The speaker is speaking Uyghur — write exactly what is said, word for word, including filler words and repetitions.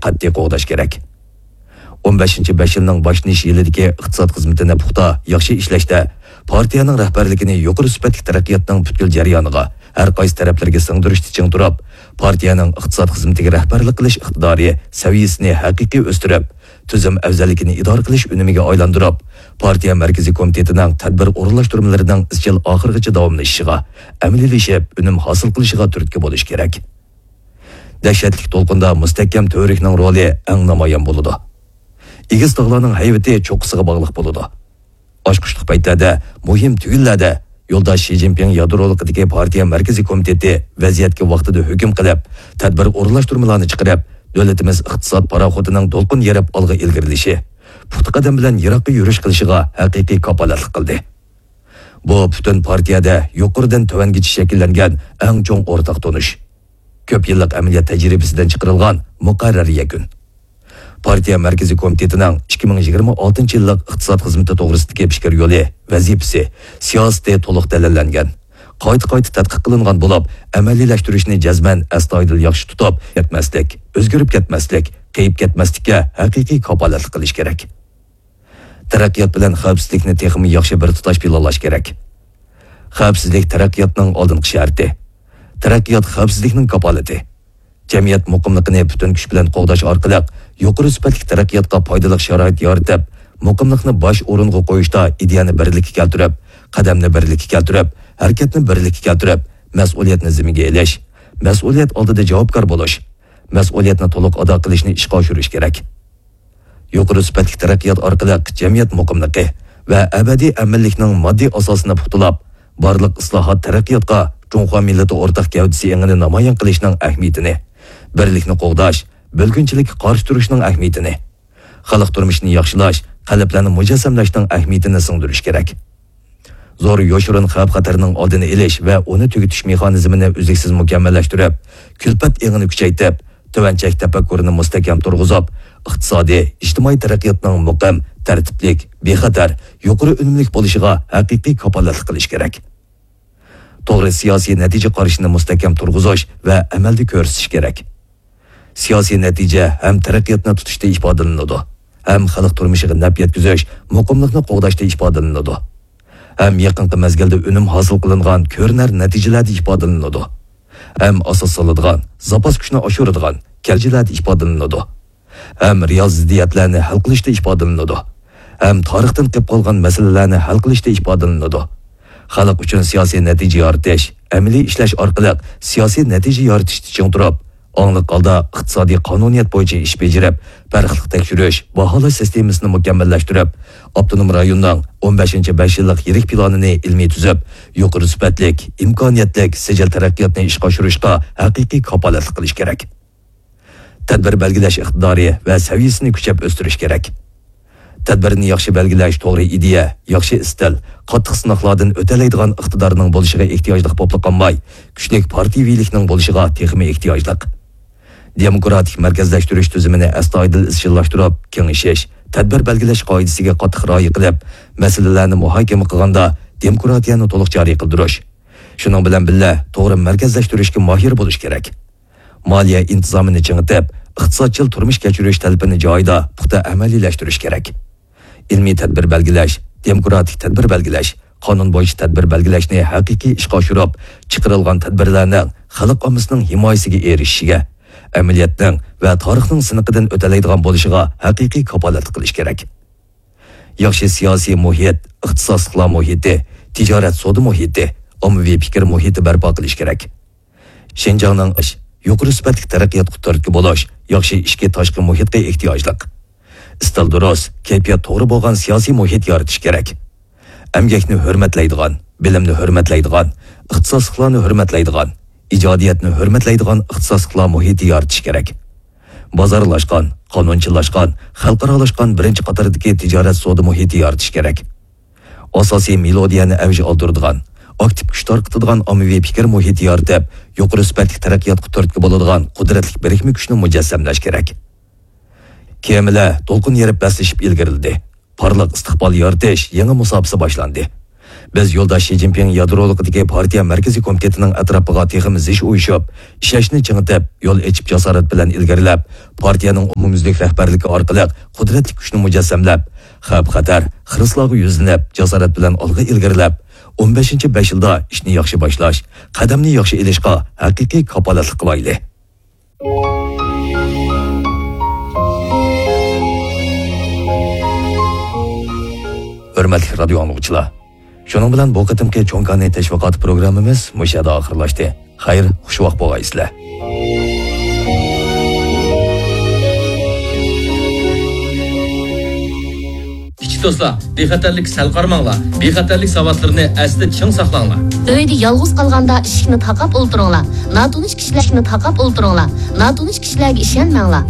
قەتئىي قوغداش كېرەك. ئون بەشىنچى بەش يىلنىڭ باشلىنىش يىلىدىكى ئىقتىساد خىزمىتىنى پۇختا، ياخشى ئىشلەشتە پارتىيەنىڭ رەھبەرلىكىنى يۇقىرى سۈپەتلىك تەرەققىياتنىڭ پۈتكۈل جەريانىغا، ھەر قايسى تەرەپلىرىگە سىڭدۈرۈشتە چىڭ تۇرۇپ، پارتىيەنىڭ ئىقتىساد خىزمىتىگە رەھبەرلىك قىلىش ئىقتىدارى سەۋىيەسىنى ھەقىقىي ئۆستۈرۈپ، تۈزۈم ئەۋزەللىكىنى ئىدارە قىلىش ئۈنۈمىگە ئايلاندۇرۇپ، پارتىيە مەركىزىي كومىتېتىنىڭ تەدبىر ئورۇنلاشتۇرمىلىرىنىڭ ئىزچىل ئاخىرغىچە داۋاملىشىشىغا، ئەمەلىيلىشىپ، ئۈنۈم ھاسىل قىلىشىغا تۈرتكە بولۇش كېرەك. دەھشەتلىك دولقۇندا مۇستەھكەم تۈۋرۈكنىڭ رولى ئەڭ نامايان بولىدۇ. ئېگىز تاغلارنىڭ ھەيۋىتى چوققىسىغا باغلىق بولىدۇ. ئاچقۇچلۇق پەيتلەردە، مۇھىم تۈگۈنلەردە يولداش شى جىنپىڭ يادرولۇقىدىكى پارتىيە مەركىزىي كومىتېتى ۋەزىيەتكە ۋاقتىدا ھۆكۈم قىلىپ، تەدبىر ئورۇنلاشتۇرمىلارنى چىقىرىپ، دۆلىتىمىز ئىقتىساد پاراخوتىنىڭ دولقۇن يېرىپ ئالغا ئىلگىرىلىشى، پۇختا قەدەم بىلەن يىراققا يۈرۈش قىلىشىغا ھەقىقىي كاپالەتلىك قىلدى. بۇ پۈتۈن پارتىيەدە يۇقىرىدىن تۆۋەنگىچە شەكىللەنگەن ئەڭ چوڭ ئورتاق تونۇش. كۆپ يىللىق ئەمەلىيەت تەجرىبىسىدىن چىقىرىلغان مۇقەررەر يەكۈن. پارتىيە مەركىزىي كومىتېتىنىڭ ئىككى مىڭ يىگىرمە ئالتىنچى يىللىق ئىقتىساد خىزمىتى توغرىسىدىكى پىكىر يولى، ۋەزىپىسى، سىياسىتى تولۇق دەلىللەنگەن، قايتا-قايتا تەتقىق قىلىنغان بولۇپ، ئەمەلىيلەشتۈرۈشنى جەزمەن ئەستايىدىل ياخشى تۇتۇپ، كەتمەسلىك، ئۆزگىرىپ كەتمەسلىك، قېيىپ كەتمەسلىككە ھەقىقىي كاپالەتلىك قىلىش كېرەك. تەرەققىيات بىلەن خەۋپسىزلىكنى تېخىمۇ ياخشى بىر تۇتاش پىلانلاش كېرەك. خەۋپسىزلىك تەرەققىياتنىڭ ئالدىنقى شەرتى. تەرەققىيات خەۋپسىزلىكنىڭ كاپالىتى. جەمئىيەت مۇقىملىقىنى پۈتۈن كۈچ بىلەن قوغداش ئارقىلىق يۇقىرى سۈپەتلىك تەرەققىياتقا پايدىلىق شارائىت يارىتىپ، مۇقىملىقنى باش ئورۇنغا قويۇشتا ئىدىيەنى بىرلىككە كەلتۈرۈپ، قەدەمنى بىرلىككە كەلتۈرۈپ، ھەرىكەتنى بىرلىككە كەلتۈرۈپ، مەسئۇلىيەتنى زىممىگە ئېلىش، مەسئۇلىيەت ئالدىدا جاۋابكار بولۇش، مەسئۇلىيەتنى تولۇق ئادا قىلىشنى ئىشقا ئاشۇرۇش كېرەك. يۇقىرى سۈپەتلىك تەرەققىيات ئارقىلىق جەمئىيەت مۇقىملىقى ۋە ئەبەدىي ئەمىنلىكنىڭ ماددىي ئاساسىنى پۇختىلاپ، بارلىق ئىسلاھات تەرەققىياتقا جۇڭخۇا مىللىتى ئورتاق گەۋدىسى ئېڭىنى نامايان قىلىشنىڭ ئەھمىيىتىنى، بىرلىكنى قوغداش، بۆلگۈنچىلىككە قارشى تۇرۇشنىڭ ئەھمىيىتىنى، خەلق تۇرمۇشىنى ياخشىلاش، قەلبلەرنى مۇجەسسەملەشنىڭ ئەھمىيىتىنى سىڭدۈرۈش كېرەك. زور يوشۇرۇن خەۋپ-خەتەرنىڭ ئالدىنى ئېلىش ۋە ئۇنى تۈگىتىش مېخانىزمىنى ئۈزلۈكسىز مۇكەممەللەشتۈرۈپ، كۈلپەت ئېڭىنى كۈچەيتىپ، تۆۋەن چەك تەپەككۇرىنى مۇستەھكەم تۇرغۇزۇپ، ئىقتىسادىي، ئىجتىمائىي تەرەققىياتنىڭ مۇقىم، تەرتىپلىك، بىخەتەر، يۇقىرى ئۈنۈملۈك بولۇشىغا ھەقىقىي كاپالەتلىك قىلىش كېرەك. توغرا سىياسىي نەتىجە قارىشىنى مۇستەھكەم تۇرغۇزۇش ۋە ئەمەلدە كۆرسىتىش كېرەك. سىياسىي نەتىجە ھەم تەرەققىياتنى تۇتۇشتا ئىپادىلىنىدۇ، ھەم خەلق تۇرمۇشىغا نەپ يەتكۈزۈش، مۇقىملىقنى قوغداشتا ئىپادىلىنىدۇ، ھەم يېقىنقى مەزگىلدە ئۈنۈم ھاسىل قىلىنغان كۆرۈنەر نەتىجىلەردە ئىپادىلىنىدۇ، ھەم ئاساس سالىدىغان، زاپاس كۈچنى ئاشۇرىدىغان كەلگۈلەردە ئىپادىلىنىدۇ، ھەم رېئال زىددىيەتلەرنى ھەل قىلىشتا ئىپادىلىنىدۇ، ھەم تارىختىن قېلىپ قالغان مەسىلىلەرنى ھەل قىلىشتا ئىپادىلىنىدۇ. خەلق ئۈچۈن سىياسىي نەتىجە يارىتىش، ئەمەلىي ئىشلەش ئارقىلىق سىياسىي نەتىجە يارىتىشتا چىڭ تۇرۇپ، ئاڭلىق ھالدا ئىقتىسادىي قانۇنىيەت بويىچە ئىش بېجىرىپ، پەرقلىق تەكشۈرۈش، باھالاش سىستېمىسىنى مۇكەممەللەشتۈرۈپ، ئاپتونوم رايوننىڭ ئون بەشىنچى بەش يىللىق يىرىك پىلانىنى ئىلمىي تۈزۈپ، يۇقىرى سۈپەتلىك، ئىمكانىيەتلىك، سىجىل تەرەققىياتنى ئىشقا ئاشۇرۇشقا ھەقىقىي كاپالەتلىك قىلىش كېرەك. تەدبىر بەلگىلەش ئىقتىدارى ۋە سەۋىيەسىنى كۈچەپ ئۆستۈرۈش كېرەك. تەدبىرنى ياخشى بەلگىلەش، توغرا ئىدىيە، ياخشى ئىستىل، قاتتىق سىناقلاردىن ئۆتەلەيدىغان ئىقتىدارنىڭ بولۇشىغا ئېھتىياجلىق بولۇپلا قالماي، كۈچلۈك پارتىيىۋىلىكنىڭ بولۇشىغا تېخىمۇ ئېھتىياجلىق. دېموكراتىك مەركەزلەشتۈرۈش تۈزۈمىنى ئەستايىدىل ئىزچىللاشتۇرۇپ، كېڭىشىش، تەدبىر بەلگىلەش قائىدىسىگە قاتتىق رىئايە قىلىپ، مەسىلىلەرنى مۇھاكىمە قىلغاندا دېموكراتىيەنى تولۇق جارى قىلدۇرۇش. شۇنىڭ بىلەن بىللە، توغرا مەركەزلەشتۈرۈشكە ماھىر بولۇش كېرەك. مالىيە ئىنتىزامىنى چىڭىتىپ، ئىقتىسادچىل تۇرمۇش كەچۈرۈش تەلىپىنى جايىدا پۇختا ئەمەلىيلەشتۈرۈش كېرەك. ئىلمىي تەدبىر بەلگىلەش، دېموكراتىك تەدبىر بەلگىلەش، قانۇن بويىچە تەدبىر بەلگىلەشنى ھەقىقىي ئىشقا ئاشۇرۇپ، چىقىرىلغان تەدبىرلەرنىڭ خەلق ئاممىسىنىڭ ھىمايىسىگە ئېرىشىشىگە، ئەمەلىيەتنىڭ ۋە تارىخنىڭ سىنىقىدىن ئۆتەلەيدىغان بولۇشىغا ھەقىقىي كاپالەتلىك قىلىش كېرەك. ياخشى سىياسىي مۇھىت، ئىختىساسلىقلار مۇھىتى، تىجارەت سودا مۇھىتى، ئاممىۋى پىكىر مۇھىتى بەرپا قىلىش كېرەك. شىنجاڭنىڭ ئىش، يۇقىرى سۈپەتلىك تەرەققىياتقا تۈرتكە بولۇش، ياخشى ئىچكى تاشقى مۇھىتقا ئېھتىياجلىق. ئىستىل دۇرۇس، كەيپىيات توغرا بولغان سىياسىي مۇھىت يارىتىش كېرەك. ئەمگەكنى ھۆرمەتلەيدىغان، بىلىمنى ھۆرمەتلەيدىغان، ئىختىساسلىقلارنى ھۆرمەتلەيدىغان، ئىجادىيەتنى ھۆرمەتلەيدىغان ئىختىساسلىقلار مۇھىتى يارىتىش كېرەك. بازارلاشقان، قانۇنچىلاشقان، خەلقئارالاشقان بىرىنچى قاتاردىكى تىجارەت سودا مۇھىتى يارىتىش كېرەك. ئاساسىي مېلودىيەنى ئەۋج ئالدۇرىدىغان، ئاكتىپ كۈچ تارقىتىدىغان ئاممىۋى پىكىر مۇھىتى يارىتىپ، يۇقىرى سۈپەتلىك تەرەققىياتقا تۈرتكە بولىدىغان قۇدرەتلىك بىرىكمە كۈچنى مۇجەسسەملەش كېرەك. كېمىلەر دولقۇن يېرىپ بەسلىشىپ ئىلگىرىلىدى. پارلاق ئىستىقبال يارىتىش يېڭى مۇساپىسى باشلاندى. بىز يولداش شى جىنپىڭ يادرولۇقىدىكى پارتىيە مەركىزىي كومىتېتىنىڭ ئەتراپىغا تېخىمۇ زىچ ئۇيۇشۇپ، ئىشەنچنى چىڭىتىپ، يول ئېچىپ جاسارەت بىلەن ئىلگىرىلەپ، پارتىيەنىڭ ئومۇميۈزلۈك رەھبەرلىكى ئارقىلىق قۇدرەتلىك كۈچنى مۇجەسسەملەپ، خەۋپ-خەتەر، خىرىسلارغا يۈزلىنىپ، جاسارەت بىلەن ئالغا ئىلگىرىلەپ، ئون بەشىنچى بەش يىلدا ئىشنى ياخشى باشلاش، قەدەمنى ياخشى ئېلىشقا ھەقىقىي كاپالەتلىك قىلايلى. ھۆرمەتلىك رادىيو ئاڭلىغۇچىلار، شۇنىڭ بىلەن بۇ قېتىمقى چوڭ كانى تەشۋىقات پروگراممىمىز مۇشۇ يەردە ئاخىرلاشتى. خەير، خۇشۋاق بولغايسىلەر. كىچىك دوستلار، بىخەتەرلىككە سەل قارىماڭلار. بىخەتەرلىك ساۋاتلىرىنى ئەستە چىڭ ساقلاڭلار. ئۆيدە يالغۇز قالغاندا ئىشىكنى تاقاپ ئولتۇرۇڭلار. ناتونۇش كىشىلەرنى تاقاپ ئولتۇرۇڭلار. ناتونۇش كىشىلەرگە ئىشەنمەڭلار.